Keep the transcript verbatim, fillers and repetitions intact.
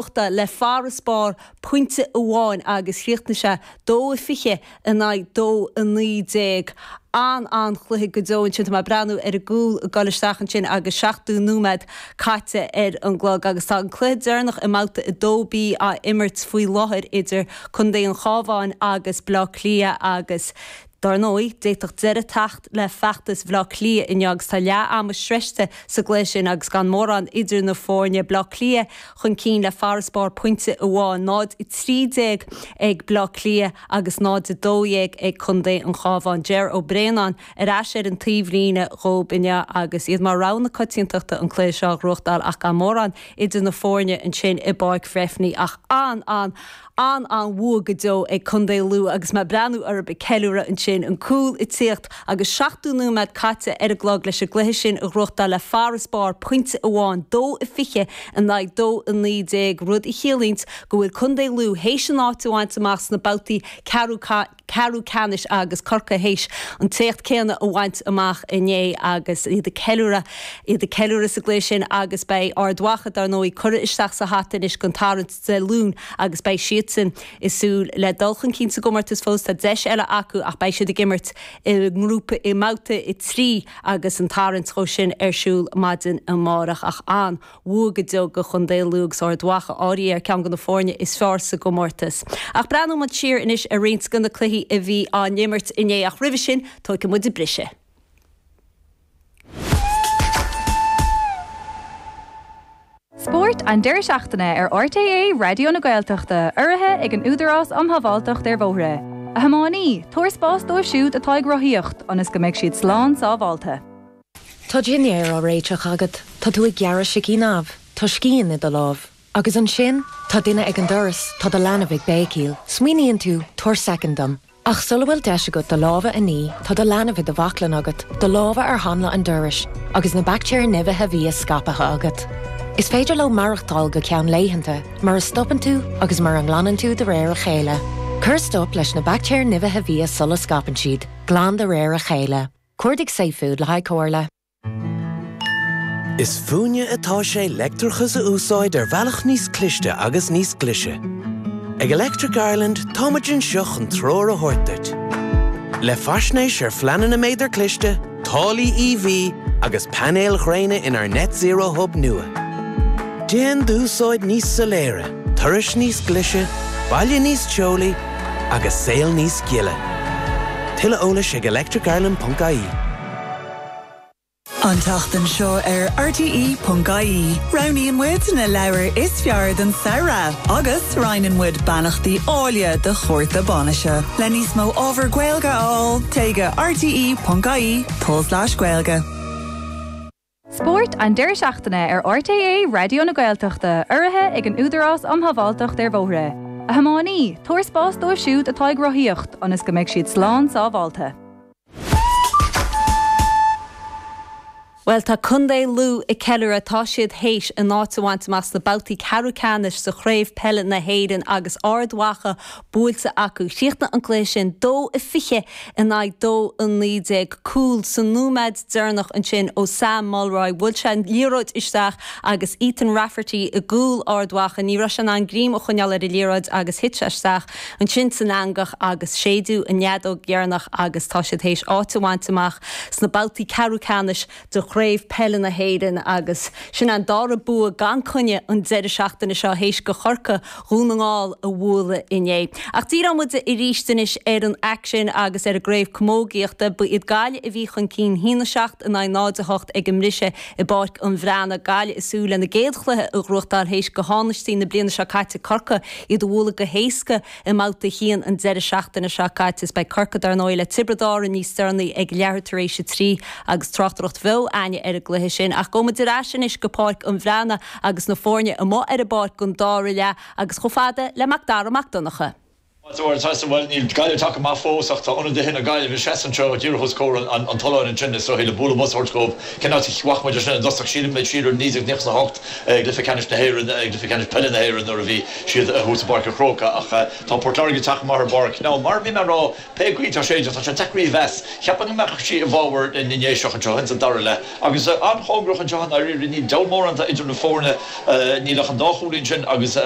Le farasbarr pointe amháin agus chríochnaigh sé dó a fiche in aghaidh dó a naoi déag. An an-chluiche go deo ansin. Tá mé ag breathnú ar an gcúl ag dul isteach ansin agus seachtó nóiméad caite ar an gclog agus tá an cluiche deireanach i mbabhta a dó B á imirt faoi láthair idir Contae an Chabháin agus Bleá Cliath agus Dar ndóigh, d'fhéadfadh deireadh teacht le feachtas Bhaile Átha Cliath inniu agus tá leath ama sroichte sa gcluiche sin agus gan mórán idir na foirne. Baile Átha Cliath chun cinn le farasbarr pointe amháin, náid a trí déag ag Baile Átha Cliath agus náid a dó dhéag ag Contae an Chabháin. Ger Ó Braonáin ar ais ar an taobhlíne dhóib inniu agus iad mar rogha na coitiantachta an cluiche seo a ghnóthachtáil ach gan mórán idir na foirne ansin i bPáirc Bhreifne ach an an an an-bhua go deo ag Contae Lú agus mé ag breathnú orthu ag ceiliúradh ansin, an cúl ag tíocht agus seachtó nóiméad caite ar an gclog leis an gcluiche sin a ghnóthachtáil le farasbarr pointe amháin, dó a fiche in aghaidh dó a naoi déag, rud a chiallaíonns go bhfuil Contae Lú théis an áit a bhaint amach sna babhtaí ceathrú ceathrú ceannais agus Corcaigh théis an t-éacht céanna a bhaint amach inné agus iad ag ceiliúradh iad ag ceiliúradh sa gcluiche sin agus beidh Ard Mhacha dar ndóigh curtha isteach sa hata anois don tarraingt Dé Luain agus beidh siadsan ag súil le dul chun cinn sa gcomórtas fós. Tá deis eile acu ach beidh siad ag imirt i ngrúpa i mbabhta a trí agus an tarraingt dhó sin ar siúl maidin amárach ach an bhua go deo do Chontae Lú agus Ard Mhacha áirithe ar ceann de na foirne is fearr sa gcomórtas. Ach breathnóidh muid siar anois ar roinnt de na cluichí a bhí á n-imirt inné ach roimhe sin tógfaidh muid briseadh. Spórt an deireadh seachtaine ar R T É Raidió na Gaeltachta, urraithe ag an Údarás um Shábháilteacht ar Bhóithre. A thiománaí, tabhair spás dóibh siúd atá ag rothaíocht, ionas go mbeidh siad slán sábháilte. Tá dinnéar á réiteach agat, Tá tú ag gearradh sicín amh, Tá scian i do lámh. Agus ansin, tá duine ag an doras, tá do leanbh ag béicíl, Smaoiníonn tú tabhair soicind dom. Ach sula bhfuil deis agat do lámha a ní, tá do leanbh i do bhaclainn agat, do lámha ar hanla an dorais, agus na baictéir nimhithe bhia scaipthe agat. Is féidir leo maireachtáil go ceann laethanta, mura stopann tú agus mura nglanann tú de réir a chéile. Cuir stop leis na baictéir nimhithe bhia sula scaipeann siad, glan de réir a chéile. Cuardaigh Safefood le haghaidh comhairle. Is fúinne atá sé leictreachas a úsáid ar bhealach níos cliste agus níos glaise. Ag Electric Ireland táimid anseo chun treoir a thabhairt duit. Le faisnéis ar phleananna méadar cliste, táillí E V agus painéil ghréine inár Net Zero Hub nua. Déan d'úsáid níos soiléire, turais níos glaise, baile níos teolaí agus saol níos gile. Tuilleadh eolais ag electricireland dot I E. An tseachtain seo ar R T E ponc I E. Roghnaíonn muid na leabhair is fearr den samhradh agus roinneann muid beannachtaí áille do chárta bainise. Le níos mó ábhar Gaeilge a fháil téigh go R T E ponc I E tulslais Gaeilge. Spórt an deireadh seachtaine ar R T É Raidió na Gaeltachta, urraithe ag an Údarás um Shábháilteacht ar Bhóithre. A thiománaí, tabhair spás dóibh siúd atá ag rothaíocht, ionas go mbeidh siad slán sábháilte. Well tá Contae Lú ag ceiliúradh. Tá siad théis a n-áit a bhaint amach sna babhtaí ceathrú ceannais sa chraobh peile na hÉireann agus Ard Mhacha buailte acu. Chríochnaigh an cluiche sin dó a fiche in aghaidh dó a naoi déag. Cúl sa nóiméad deireanach ansin ó Sam Mulroy. Bhuail sé an liathróid isteach agus Ethan Rafferty i gcúl Ard Mhacha. Ní raibh sé in ann greim a choinneáil ar an liathróid agus thit sé isteach ansin san eangach agus séideadh an fheadóg dheireanach agus tá siad théis áit a bhaint amach sna babhtaí ceathrú ceannais de chraobh peile na hÉireann agus sin an dara bua gan choinne an deireadh seachtaine seo théis do Chorcaigh Dhún na nGall a bhualadh inné. Ach díreoidh muid arís anois ar an aicsean agus ar an gcraobh camógaíochta. Ba iad Gaillimh a bhí chun cinn a haon a seacht in aghaidh náid a hocht ag an mbriseadh i bPáirc an Bhreathnaigh. Gaillimh ag súil lena gcéad chluiche a ghnóthachtáil théis do thánaistí na bliana seo caite Corcaigh iad a bhualadh go héasca i mbabhta a haon an deireadh seachtaine seo caite. Is beidh Corcaigh dar ndóigh le Tiobraid Árann níos deireanaí ag leathuair tar éis a trí agus tráchtaireacht bheo againne ar an gcluiche sin. Ach gabhfaidh muid ar ais anois go Páirc an Bhreathnaigh agus na foirne amuigh ar an bpáirc don dara leath agus chomh fada le Mac Dara Mac Donncha. Bhuel níl Gaillimh tagtha amach fós ach tá ionadaithe na Gaillimhe seasta anseo díreach os comhair an tolláin ansin is dóigh le bualadh bos a thabhairt dóibh. Cén áit a bhfaca muid sin i dtosach sílim siar ar naoi déag nócha a hocht ag Cluiche Ceannais na hÉireann ag Cluiche Ceannais Peile na hÉireann nuair a bhí siad thuas i bPáirc an Chrócaigh ach tá Port Láirge ag teacht amach ar an bpáirc. Ná mar bhí mé ag rá pé caoi tá sé tá sé deacair a mheas. Cheapfainn go mbeadh sí i bhfabhar na nDéiseach anseo in sa dara leath agus an-chóngarach anseo an níl deall mórán idir na foirne níl ach an dá chúilín sin agus